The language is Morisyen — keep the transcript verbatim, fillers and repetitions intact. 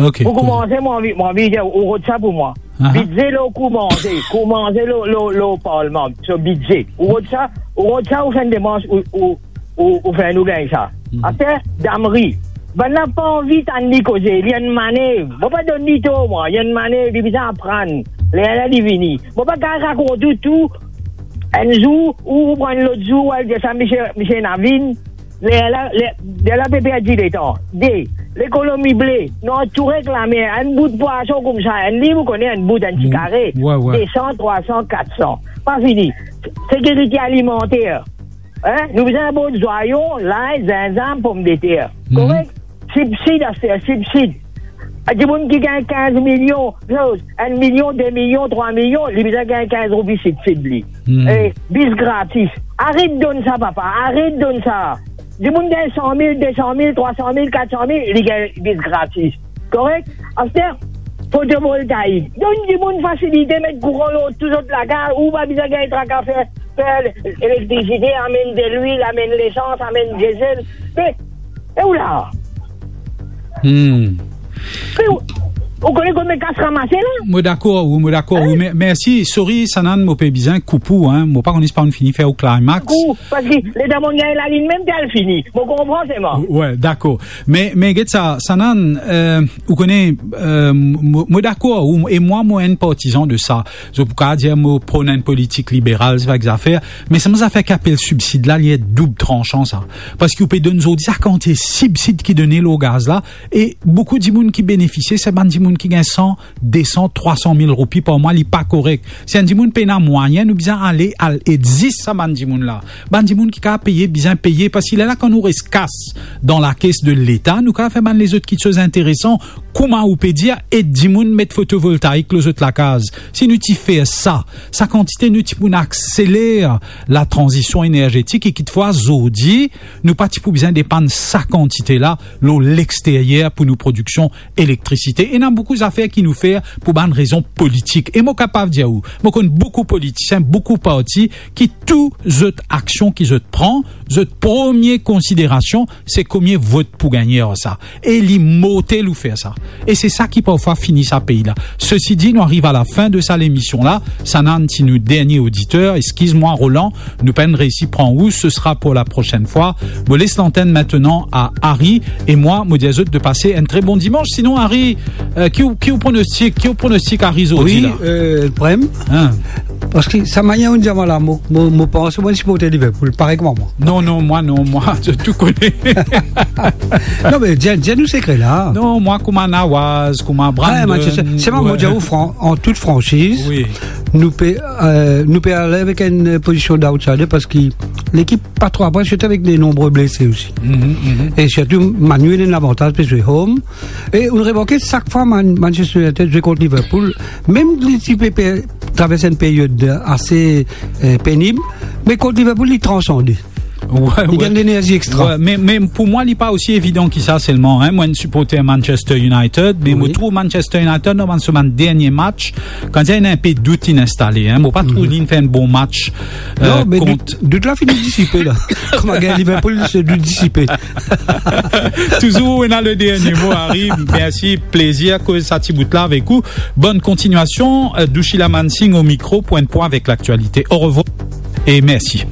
Ok, pou koumanse, mo anvi, mo anvi dir, ou rod sa pou mwa. Aha. Bidze lor kou manze, kou manze lor, lor, lor parlman, so bidze. Ou rod sa, ou rod sa, ou fer enn demars, ou, ou, ou, ou fer nou gagn sa. Hmm. Aster, Damri. Bannla pa anvi tann li koze, li enn manev. Mo pa donn li tor, mwa, li enn manev, li bizin aprann. Lerla li vini. Mo pa kapav rakont ou tou, enn zour, ou, ou pran lot zour, ou al dir sa, misie, misie Navin, lerla, ler, lerla pe perdi letan. De, lekonomi ble. Nou antoure ek lamer, enn bout pwason koumsa, enn li, ou kone, enn bout, enn ti kare. Mm. Wi, wi. De san, trwa san, kat san. Pa fini. Sekirite alimanter. Hein? Nou bizin bord zwayon, lay, zinzam, pomdeter. Mhm. Korek? Sibsid, aster, sibsid. A, dimoun ki gagn kinz milion, enn milion, de milion, trwa milion, li bizin gagn kinz roupi sibsid li. Mhm. E, bis gratis. Aret donn sa, papa, aret donn sa. Dimoun gagn san mil, de san mil, trwa san mil, kat san mil, li gagn bis gratis. Korek? Aster, fotovoltaik. Donn dimoun fasilite, met kouran lor tou zot lakaz, ou pa bizin gagn traka fer, fer elektrisite, amenn delwil, amenn lesans, amenn diesel. Me, e ou la? Hmm. Me ou, ou kone konbien kas ramase la? Mo dakor, wi, mo dakor, wi. Hein? Me-, mersi, sorry, Sanan, mo pe bizin koup ou, hein. Mo pa kone si pa ou'nn fini fer ou climax. Koup, parski letan mo gagn lalinn mem, ti al fini. Mo konpran selman. Wi, dakor. Me, me get sa, Sanan, euh, ou kone, euh, mo, mo dakor, ou, e mwa, mo enn partizan de sa. Zot pou kapav dir mo pron enn politik liberal, se pa ek zafer, me sa bann zafer ki apel sibsid la, li enn doub transan sa. Parski ou pe donn zordi sa kantite sibsid ki done lor gaz la, e boukou dimoun ki benefisie, se bann dimoun ki gagn san, de san, trwa san mil roupi par mwa, li pa korek. Si enn dimoun pena mwayin, nou bizin ale, al ed zis sa bann dimoun la. Bann dimoun ki kapav peye, bizin peye, parski lerla kan nou res kas dan lakes de Leta, nou kapav fer bann lezot kiksoz interesan, kouma ou pe dir, ed dimoun met fotovoltaik lor zot lakaz. Si nou ti fer sa, sa kantite nou ti pou akseler latranzision energetik e kitfwa zordi, nou pa ti pou bizin depann sa kantite la lor lexteryer pou nou prodiksion elektrisite. Ena boukou zafer ki nou fer pou bann rezon politik. E mo kapav dir ou, mo konn boukou politisien, boukou parti ki tou zot aksion ki zot pran, zot premie konsiderasion, se konbien vot pou gagne ar sa. E li mortel ou fer sa. E se sa ki parfwa fini sa pei la. Sesi di, nou ariv a la fin de sa lemision la. Sanan ti nou dernie oditer. Eskiz mwa, Roland, nou pa'nn reisi pran ou. Ce sera pour la prochaine fois. Mo les l'antenne maintenant à Harry. E mwa, mo dir zot de pase enn tre bon dimanche. Sinon, Harry, euh, ki ou, ki ou pronostik, ki ou pronostik Harry zordi la? Wi, euh, prem. Hein? Parski sa manier ou dir mwa la, mo, mo, mo panse mo siporte Liverpool, parey kouma mwa. Non, non, mwa non, mwa, zot tou kone. Non, me dir, dir nou sekre la. Non, mwa kouma Nawaz, kouma Brandon. Wi, Manchester. Se mwa, mo dir ou fran-, an tout fransiz, wi, nou pe, euh, nou pe ale avek enn pozision d'outsider parski lekip pa tro apre, sirtou avek de nonbre blese osi. Mhm, mhm. E sirtou, Man U ena lavantaz, pe zwe home. E ou remarke, sak fwa Man-, Manchester United zwe kont Liverpool, mem li ti pe, pe travers enn period ase, eh, penib, me kont Liverpool, li transande. Wi, wi. Li gagn lenerzi extra. Wi, me, me pou mwa, li pa osi evidan ki sa selman, hein. Mwa, enn siporter Manchester United, me, wi, mo trouv Manchester United, dan bann, so bann dernie match, kan ena enpe dout, inn instale, hein. Mo pa trouv, mhm, li fer enn bon match, euh, non, me kont dout, dout la fini disipe la. Kouma gagn Liverpool, se dout disipe. Touzour, ou ena le dernie mo, Harry. Mersi, plezir koz sa ti bout la avek ou. Bonne continuation. Euh, Dushila Mansingh au micro pour un point avec l'actualité. Au revoir et merci.